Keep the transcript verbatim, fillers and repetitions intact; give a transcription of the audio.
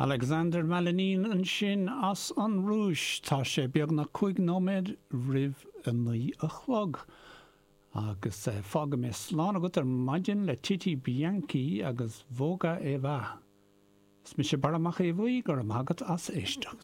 Alexander Malinin ansin as an Rúis tá sé beagnach cúig nóiméad roimh a naoi a chlog. Agus eh, fágfaidh mé slán agat ar maidin le Titi Bianchi agus Voga e Va. Is mise Barra Mac Aodha Bhuí go raibh maith agat as éisteacht.